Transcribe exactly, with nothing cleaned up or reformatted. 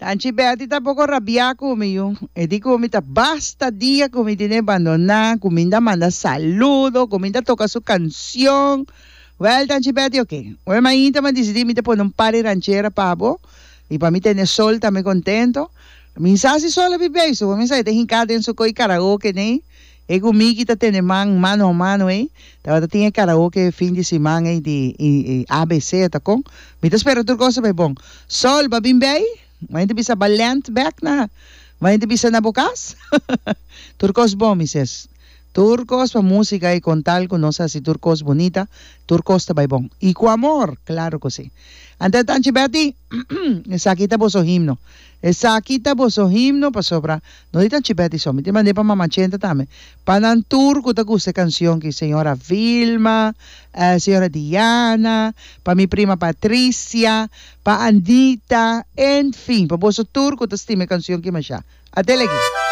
Tanchi Betty ta poko rabiá ku mi, yu. E di ku mi ta basta dia ku mi tene bandoná, ku mi ta manda saludo, ku mi ta toka su kanshon. Wèl, Tanchi Betty, oké. Ora mainta m'a disidí mi ta pone un par di ranchera pa bo i pa mi tene Sol tambe kontento. Mi sa si Sol a biba ei, so mi sa e ta hinká den su koi karaoke nei. E ku Miki ta tene man mano a mano ei. Tabata tin e karaoke fin di siman ei di A B C ta kon. Mi ta spera tur kos ta bai bon. Sol, ba bin bei? Mainta bisa ba land back na. Mainta bisa na bo kas? Tur kos bon, mi ses. Tur kos pa músika i kontal ku nos hasi tur kos bunita, tur kos ta bai bon. I ku amor, klaro ku sí. Anto Tanchi Betty, esaki ta boso himno. Esaki ta boso himno pasobra no di Tanchi Betty so, mi ta mand'é pa Mama Chenta tambe. Pa nan tur ku ta gusta e kanshon ki señora Vilma, eh, señora Diana, pa mi prima Patricia, pa Anita, en fin, pa boso tur ku ta stima e kanshon ki masha. Atele aki.